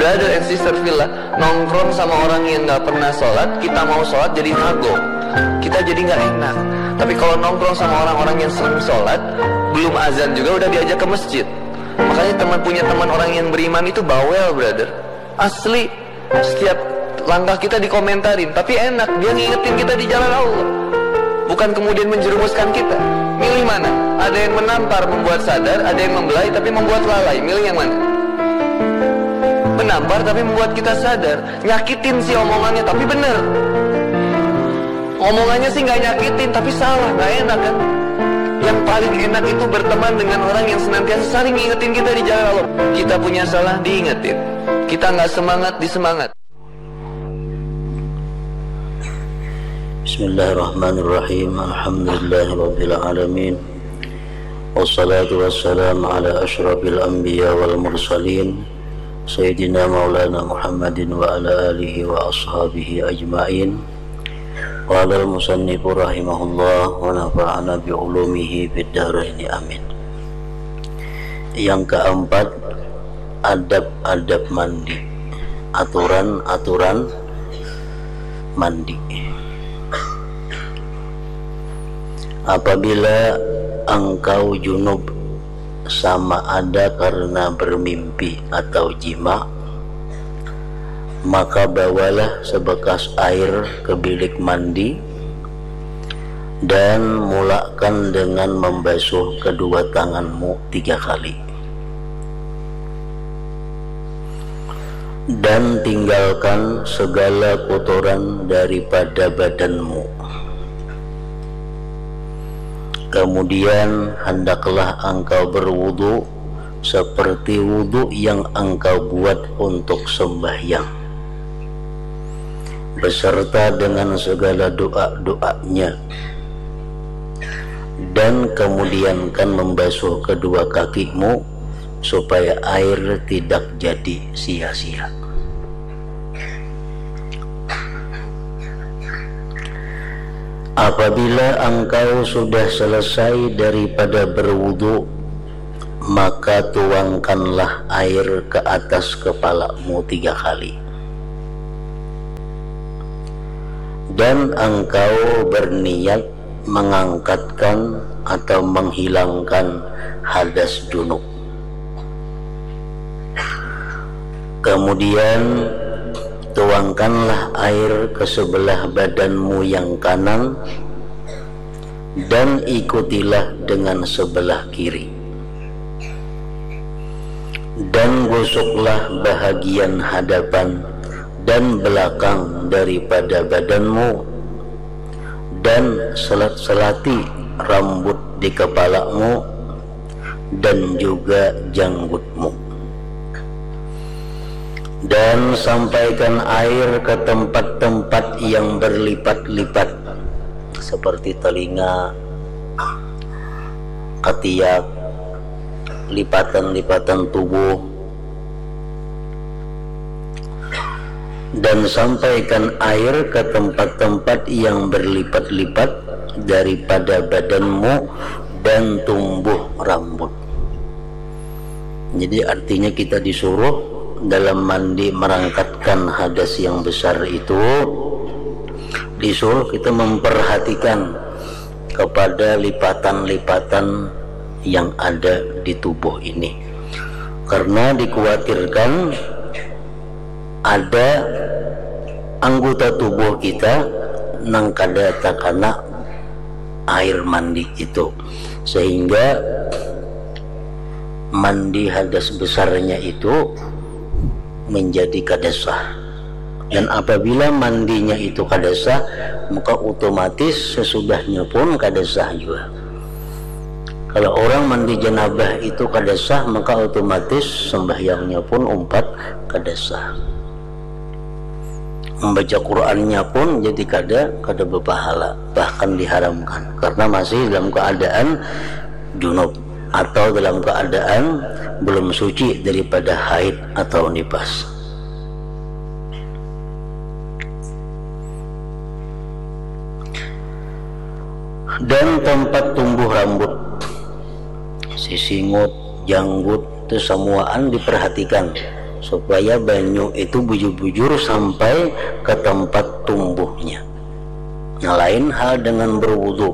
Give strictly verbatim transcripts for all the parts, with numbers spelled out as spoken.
Brother and sister fillah, nongkrong sama orang yang nggak pernah sholat, kita mau sholat jadi kagok. Kita jadi nggak enak. Tapi kalau nongkrong sama orang-orang yang sering sholat, belum azan juga udah diajak ke masjid. Makanya teman punya teman orang yang beriman itu bawel, brother. Asli, setiap langkah kita dikomentarin, tapi enak, dia ngingetin kita di jalan Allah. Bukan kemudian menjerumuskan kita. Milih mana? Ada yang menampar, membuat sadar, ada yang membelai tapi membuat lalai. Milih yang mana? Menampar tapi membuat kita sadar. Nyakitin sih omongannya, tapi bener. Omongannya sih nggak nyakitin, tapi salah, nggak enak kan? Yang paling enak itu berteman dengan orang yang senantiasa saling ngingetin kita di jalan Allah. Kita punya salah, diingetin. Kita nggak semangat, disemangat. Bismillahirrahmanirrahim. Alhamdulillahirabbil alamin. Wassalatu wassalamu ala asyrafil anbiya wal mursalin, Sayyidina Maulana Muhammadin wa ala alihi wa ashabihi ajmain. Qala al-musannifu rahimahullah wa nafa'ana bi ulumihi fid daraini, amin. Yang keempat, adab-adab mandi, aturan-aturan mandi. Apabila engkau junub sama ada karena bermimpi atau jima, maka bawalah sebekas air ke bilik mandi dan mulakan dengan membasuh kedua tanganmu tiga kali. Dan tinggalkan segala kotoran daripada badanmu. Kemudian hendaklah engkau berwudu seperti wudu yang engkau buat untuk sembahyang, beserta dengan segala doa-doanya. Dan kemudiankan membasuh kedua kakimu supaya air tidak jadi sia-sia. Apabila engkau sudah selesai daripada berwudu, maka tuangkanlah air ke atas kepalamu tiga kali. Dan engkau berniat mengangkatkan atau menghilangkan hadas junub. Kemudian tuangkanlah air ke sebelah badanmu yang kanan dan ikutilah dengan sebelah kiri. Dan gosoklah bahagian hadapan dan belakang daripada badanmu, dan selat-selati rambut di kepalamu, dan juga janggutmu. Dan sampaikan air ke tempat-tempat yang berlipat-lipat, seperti telinga, ketiak, lipatan-lipatan tubuh. Dan sampaikan air ke tempat-tempat yang berlipat-lipat daripada badanmu dan tumbuh rambut. Jadi, artinya kita disuruh dalam mandi merangkatkan hadas yang besar itu, disuruh kita memperhatikan kepada lipatan-lipatan yang ada di tubuh ini. Karena dikhawatirkan ada anggota tubuh kita nang kada takana air mandi itu, sehingga mandi hadas besarnya itu menjadi kada sah. Dan apabila mandinya itu kada sah, maka otomatis sesudahnya pun kada sah jua. Kalau orang mandi janabah itu kada sah, maka otomatis sembahyangnya pun umpat kada sah. Membaca Qur'annya pun jadi kada, kada berpahala, bahkan diharamkan karena masih dalam keadaan junub atau dalam keadaan belum suci daripada haid atau nifas. Dan tempat tumbuh rambut, sisingut, janggut, itu semuaan diperhatikan. supaya banyu itu bujur-bujur sampai ke tempat tumbuhnya. Nah, lain hal dengan berwudu.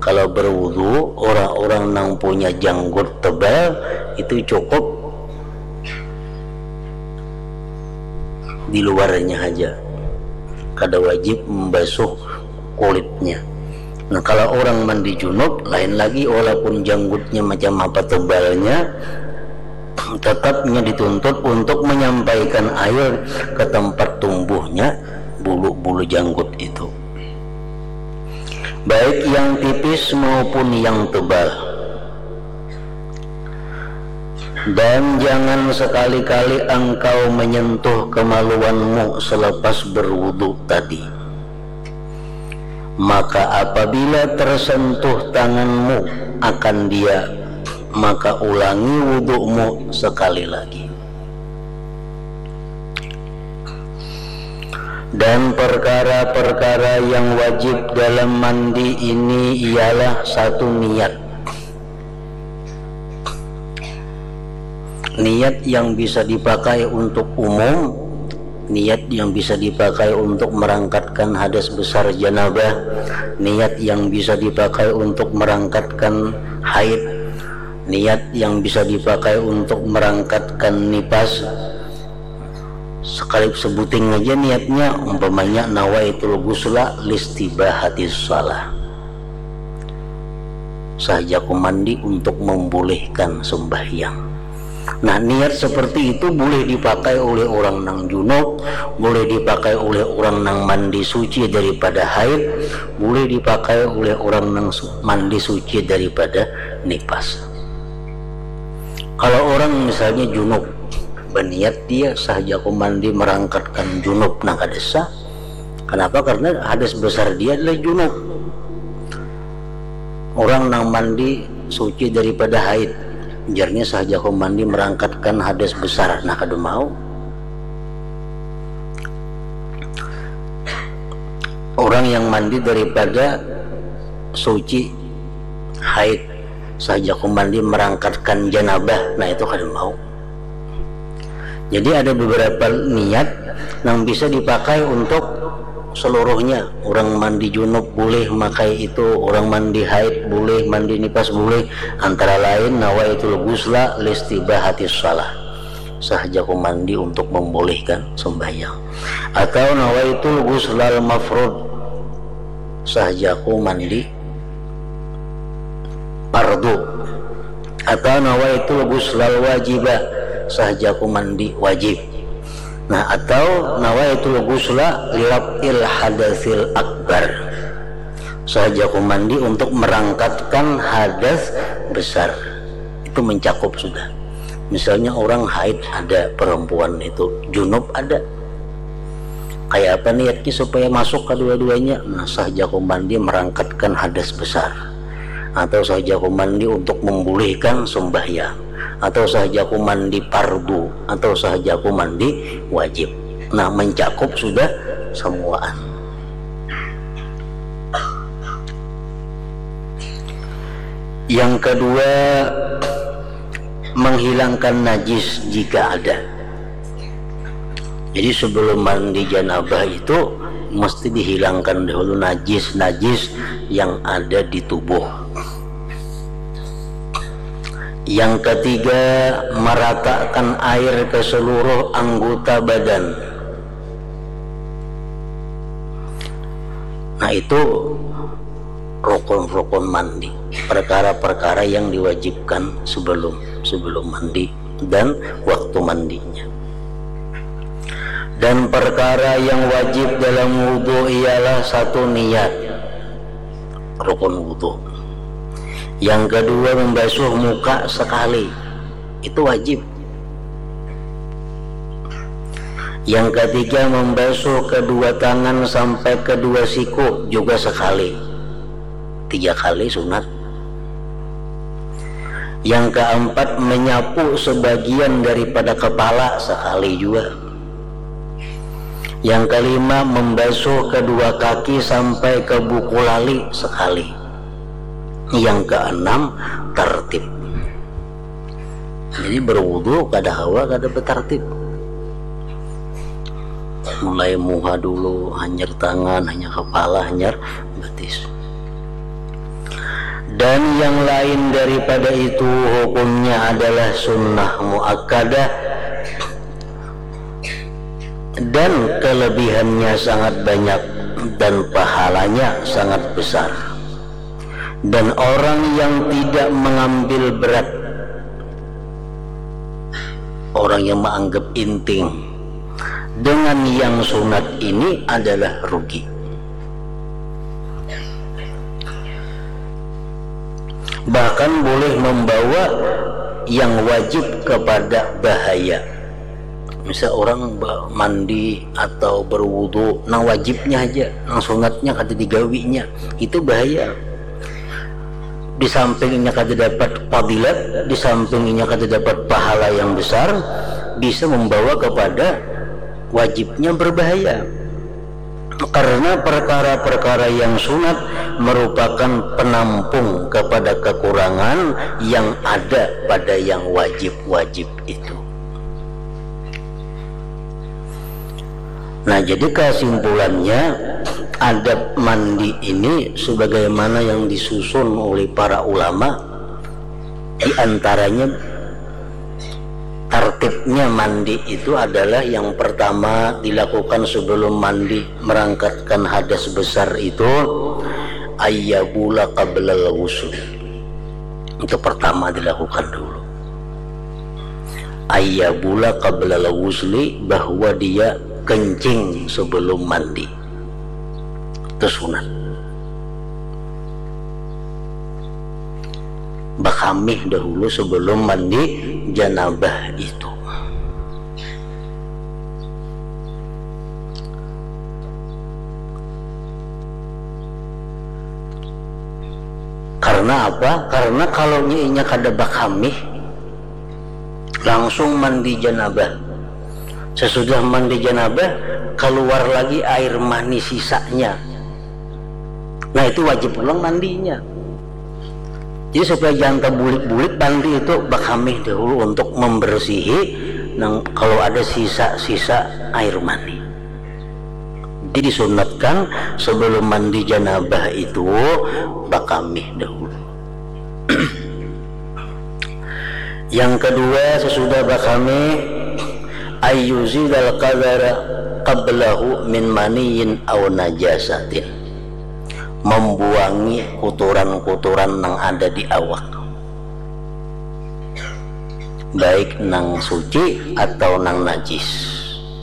Kalau berwudu, orang-orang yang punya janggut tebal itu cukup di luarnya saja, kada wajib membasuh kulitnya. Nah, kalau orang mandi junub, lain lagi, walaupun janggutnya macam apa tebalnya, tetapnya dituntut untuk menyampaikan air ke tempat tumbuhnya bulu-bulu janggut itu, baik yang tipis maupun yang tebal. Dan jangan sekali-kali engkau menyentuh kemaluanmu selepas berwudu tadi. Maka apabila tersentuh tanganmu akan dia, maka ulangi wudumu sekali lagi. Dan perkara-perkara yang wajib dalam mandi ini ialah satu niat. Niat yang bisa dipakai untuk umum, niat yang bisa dipakai untuk merangkatkan hadas besar janabah, niat yang bisa dipakai untuk merangkatkan haid, niat yang bisa dipakai untuk merangkatkan nipas. Sekali sebuting aja niatnya, umpamanya nawaitul ghusla listibahatis shalah, sahajaku mandi untuk membolehkan sembahyang. Nah, niat seperti itu boleh dipakai oleh orang nang junub, boleh dipakai oleh orang nang mandi suci daripada haid, boleh dipakai oleh orang nang su- mandi suci daripada nipas. Kalau orang misalnya junub, berniat dia sahajaku mandi merangkatkan junub, nah kada sah. Kenapa? Karena hadas besar dia adalah junub. Orang nang mandi suci daripada haid, jarnya sahajaku mandi merangkatkan hadas besar, nah kada mau. Orang yang mandi daripada suci haid, sahajaku mandi merangkatkan janabah, nah itu kada mau. Jadi ada beberapa niat yang bisa dipakai untuk seluruhnya. Orang mandi junub boleh makai itu, orang mandi haid boleh, mandi nipas boleh. Antara lain nawaitul ghusla listibahatis shalah, sahajaku mandi untuk membolehkan sembahyang. Atau nawaitul ghuslal mafrud, sahajaku mandi fardu. Atau nawaitul ghuslal wajiba, sahajaku mandi wajib. Nah, atau nawaitul ghusla liraf'il hadatsil akbar, sahajaku mandi untuk merangkatkan hadas besar. Itu mencakup sudah. Misalnya orang haid ada, perempuan itu junub ada. Kayak apa niatnya supaya masuk kedua-duanya? Nah, sahajaku mandi merangkatkan hadas besar, atau sahajaku mandi untuk membolehkan sembahyang, atau sahajaku mandi fardu, atau sahajaku mandi wajib. Nah, mencakup sudah semuaan. Yang kedua, menghilangkan najis jika ada. Jadi sebelum mandi janabah itu mesti dihilangkan dahulu najis-najis yang ada di tubuh. Yang ketiga, meratakan air ke seluruh anggota badan. Nah, itu rukun-rukun mandi, perkara-perkara yang diwajibkan sebelum sebelum mandi dan waktu mandinya. Dan perkara yang wajib dalam wudhu ialah satu niat, rukun wudhu. Yang kedua, membasuh muka sekali, itu wajib. Yang ketiga, membasuh kedua tangan sampai kedua siku juga sekali. Tiga kali sunat. Yang keempat, menyapu sebagian daripada kepala sekali juga. Yang kelima, membasuh kedua kaki sampai ke buku lali sekali. Yang keenam, tertib. Jadi berwudu kada hawa, kada betertib. Mulai muha dulu, hanyar tangan, hanyar kepala, hanyar batis. Dan yang lain daripada itu hukumnya adalah sunnah muakkadah dan kelebihannya sangat banyak dan pahalanya sangat besar. Dan orang yang tidak mengambil berat, orang yang menganggap inting dengan yang sunat ini adalah rugi. Bahkan boleh membawa yang wajib kepada bahaya. Misal orang ba-, mandi atau berwudu, nang wajibnya aja, nang sunatnya kada digawinya, itu bahaya. Di samping inya kada dapat fadilat, di samping inya kada dapat pahala yang besar, bisa membawa kepada wajibnya berbahaya. Karena perkara-perkara yang sunat merupakan penampung kepada kekurangan yang ada pada yang wajib-wajib itu. Nah, jadi kesimpulannya, adab mandi ini sebagaimana yang disusun oleh para ulama, di antaranya tartibnya mandi itu adalah yang pertama dilakukan sebelum mandi merangkatkan hadas besar itu, ayyabula qablal ghusl. Itu pertama dilakukan dulu. Ayyabula qablal ghusli, bahwa dia kencing sebelum mandi. Itu sunat. Bakamih dahulu sebelum mandi janabah itu. Karena apa? Karena kalau inya kada bakamih, langsung mandi janabah. Sesudah mandi janabah, keluar lagi air mani sisanya. Nah, itu wajib ulang mandinya. Jadi, supaya jangan terbulik-bulik, mandi itu bakamih dahulu untuk membersihi nang, kalau ada sisa-sisa air mani. Jadi, disunatkan sebelum mandi janabah itu bakamih dahulu. Yang kedua, sesudah bakamih, ayyuzilal qadara qablahu min maniyin au najasatin. Membuangi kuturan-kuturan nang ada di awak. Baik nang suci atau nang najis,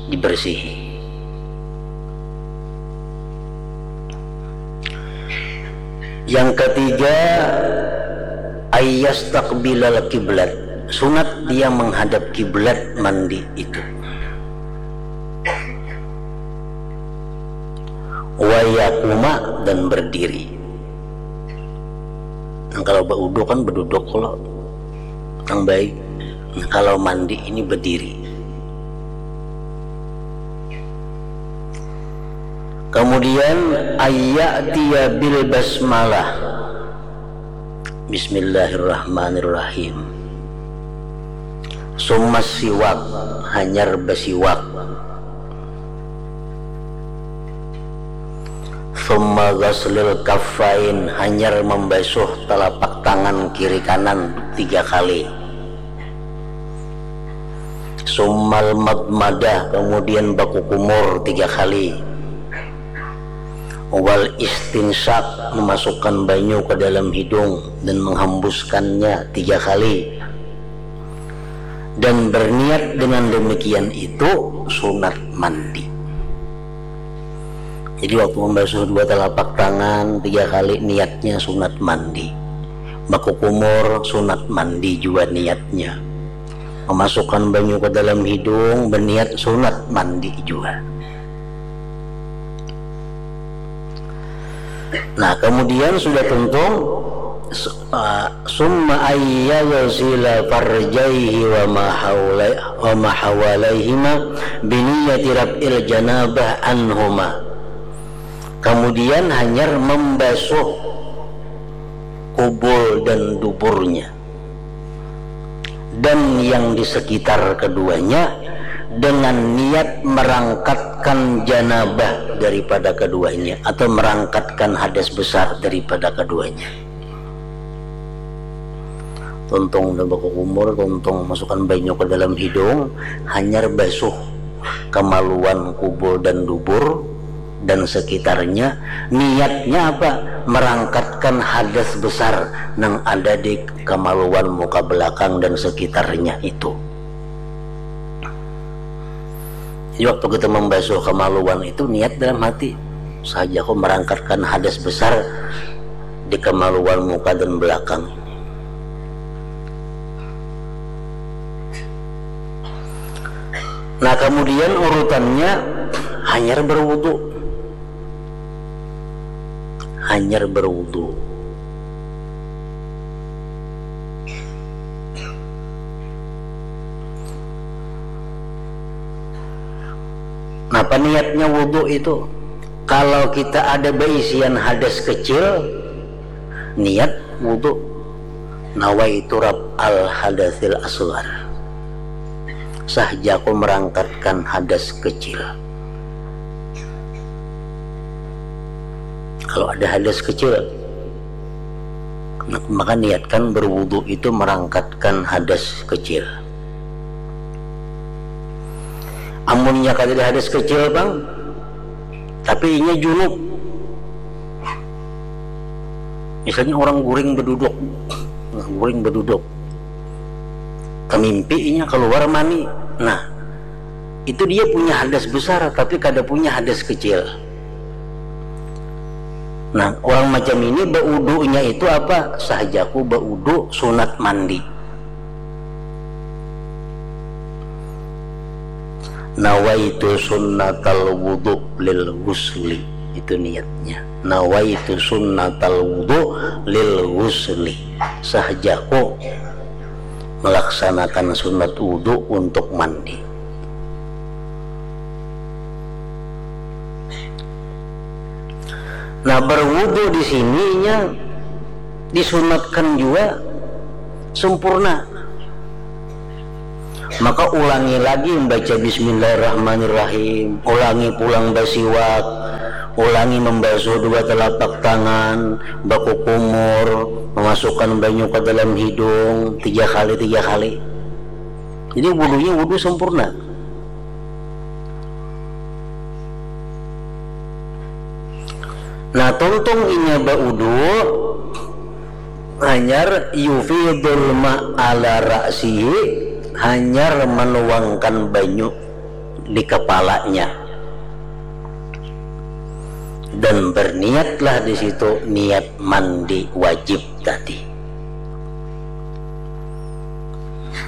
dibersihi. Yang ketiga, ayyastaqbilal kiblat. Sunat dia menghadap kiblat mandi itu. Wayakuma, dan berdiri. Nah, kalau baudu kan beduduk, kalau nang baik. Nah, kalau mandi ini berdiri. Kemudian, ayya'tiya bil basmalah. Bismillahirrahmanirrahim. Summa siwak, hanyar basiwak. Summa ghaslil kaffain, hanyar membasuh telapak tangan kiri kanan tiga kali. Summal madmadah, kemudian bakukumur tiga kali. Wal istinsyak, memasukkan banyu ke dalam hidung dan menghembuskannya tiga kali. Dan berniat dengan demikian itu sunat mandi. Jadi, waktu membasuh dua telapak tangan tiga kali, niatnya sunat mandi. Bakukumur, sunat mandi jua niatnya. Memasukkan banyu ke dalam hidung, berniat sunat mandi jua. Nah, kemudian sudah tuntung, su-, ah, summa ayyaghsila farjaihi wa ma haulai-, wa ma hawalaihima biniyati raf'il janabah anhuma. Kemudian hanyar membasuh kubul dan duburnya dan yang di sekitar keduanya dengan niat merangkatkan janabah daripada keduanya atau merangkatkan hadas besar daripada keduanya. Tuntung dah bakukumur, tuntung masukkan banyu ke dalam hidung, hanyar basuh kemaluan kubul dan dubur dan sekitarnya. Niatnya apa? Merangkatkan hadas besar nang ada di kemaluan muka belakang dan sekitarnya itu. Jadi waktu kita membasuh kemaluan itu, niat dalam hati, "Saja aku merangkatkan hadas besar di kemaluan muka dan belakang." Nah, kemudian urutannya hanyar berwudu. Hanyar berwudu. Napa niatnya wudu itu? Kalau kita ada baisian hadas kecil, niat wudu. Nawaitu raf'al hadatsil asghar. Sah jaku merangkatkan hadas kecil. Kalau ada hadas kecil, maka niatkan berwudu itu merangkatkan hadas kecil. Amunnya kada ada hadas kecil, bang, tapi inya junub. Misalnya orang guring beduduk, nah, guring beduduk, kemimpi inya keluar mani. Nah, itu dia punya hadas besar, tapi kada punya hadas kecil. Nah, orang macam ini baudunya itu apa? Sah jaku baudu sunat mandi. Nawaitu sunnatal wudu lil ghusli. Itu niatnya. Nawaitu sunnatal wudu lil ghusli. Sah jaku melaksanakan sunat wudu untuk mandi. Nah, berwudu di sininya disunatkan juga sempurna. Maka ulangi lagi membaca Bismillahirrahmanirrahim, ulangi pulang basiwak, ulangi membasuh dua telapak tangan, bakukumur, memasukkan banyu ke dalam hidung tiga kali, tiga kali. Jadi wudunya wudu sempurna. Nah, tuntung inya baudu, hanyar yufidul ma ala ra'sihi, hanyar menuangkan banyu di kepalanya. Dan berniatlah di situ niat mandi wajib tadi.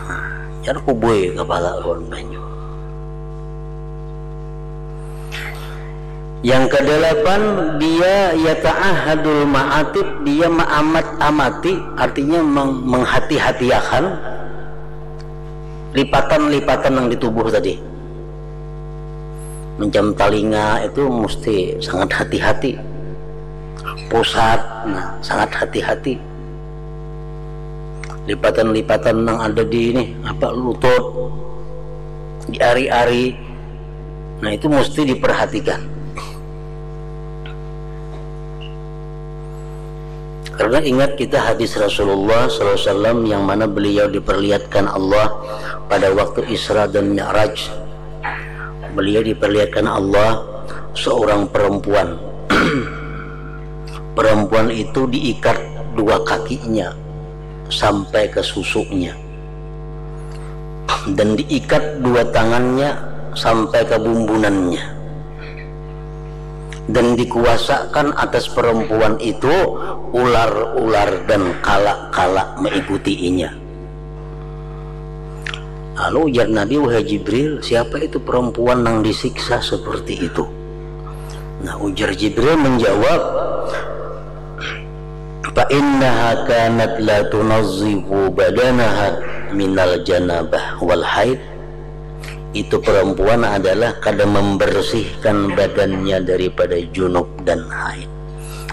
Hanyar kubui kepala lawan banyu. Yang kedelapan, dia yata'ahadul ma'atib, dia maamat-amati, artinya meng-, menghati-hatiakan lipatan-lipatan yang di tubuh tadi. Macam talinga itu mesti sangat hati-hati. Pusat, nah, sangat hati-hati. Lipatan-lipatan yang ada di ini, apa, lutut, di ari-ari, nah, itu mesti diperhatikan. Karena ingat kita hadis Rasulullah sallallahu alaihi wasallam yang mana beliau diperlihatkan Allah pada waktu Isra dan Mi'raj. Beliau diperlihatkan Allah seorang perempuan. Perempuan itu diikat dua kakinya sampai ke susunya. Dan diikat dua tangannya sampai ke bumbunannya. Dan dikuasakan atas perempuan itu ular-ular dan kalak-kalak mengikutinya. Lalu ujar Nabi, "Wahai Jibril, siapa itu perempuan yang disiksa seperti itu?" Nah, ujar Jibril menjawab, "Fa innaha kanat la tunazzifu badanaha minal janabah wal haid." Itu perempuan adalah kada membersihkan badannya daripada junub dan haid.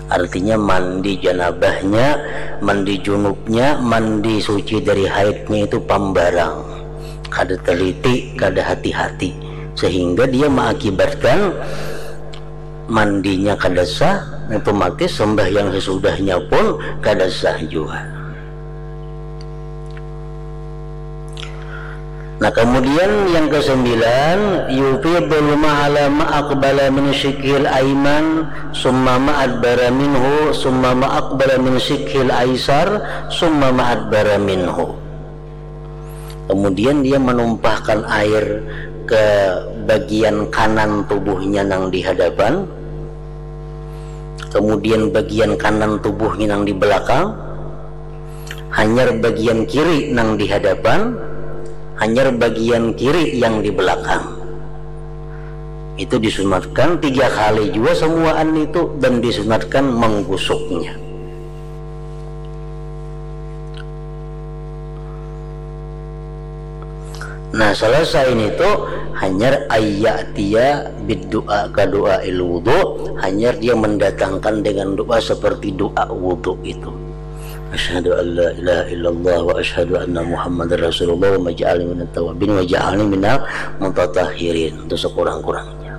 Artinya, mandi janabahnya, mandi junubnya, mandi suci dari haidnya itu pambarang. kada teliti, kada hati-hati, sehingga dia mengakibatkan mandinya kada sah, otomatis sembahyang sesudahnya pun kada sah juga. Nah, kemudian yang kesembilan, yufidul ma'a ala ma aqbala min syiqqil aiman, summa ma adbara minhu, summa ma aqbala min syiqqil aisar, summa ma adbara minhu. Kemudian dia menumpahkan air ke bagian kanan tubuhnya nang di hadapan, kemudian bagian kanan tubuhnya nang di belakang, hanyar bagian kiri nang di hadapan, hanyar bagian kiri yang di belakang. Itu disunatkan tiga kali juga semuaan itu, dan disunatkan menggusuknya. Nah, selesai ini tuh hanyar ayyatia bid doa ka doa il wudu, hanyar dia mendatangkan dengan doa seperti doa wudu itu. Asyhadu an la ilaha illallah wa asyhadu anna Muhammadar Rasulullah wa maj'alni minat tawabin wa ja'alni minal mutatahhirin. Itu sekurang-kurangnya.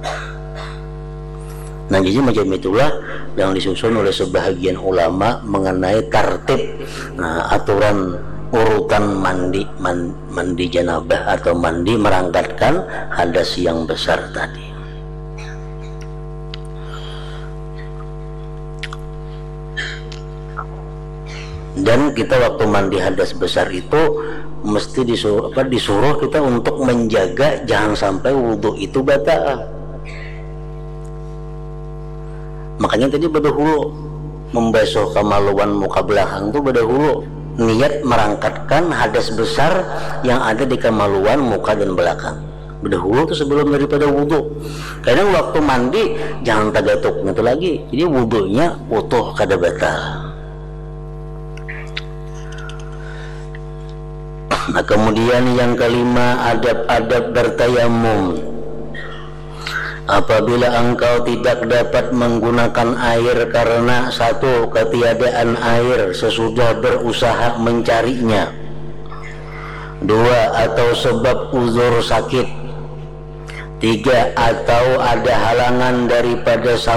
Nah, jadi macam itulah yang disusun oleh sebahagian ulama mengenai tartib, nah, aturan urutan mandi, man- mandi janabah atau mandi merangkatkan hadas yang besar tadi. Dan kita waktu mandi hadas besar itu mesti disuruh, apa, disuruh kita untuk menjaga jangan sampai wudhu itu batal. Makanya tadi badahulu membasuh kamaluan muka belakang tu badahulu niat merangkatkan hadas besar yang ada di kamaluan muka dan belakang. Badahulu tu sebelum daripada wudhu. Kadang waktu mandi jangan tagatuk itu lagi. Jadi wudhunya utuh kada batal. Nah, kemudian yang kelima, adab-adab bertayamum. Apabila engkau tidak dapat menggunakan air karena satu, ketiadaan air sesudah berusaha mencarinya, dua, atau sebab uzur sakit, tiga, atau ada halangan daripada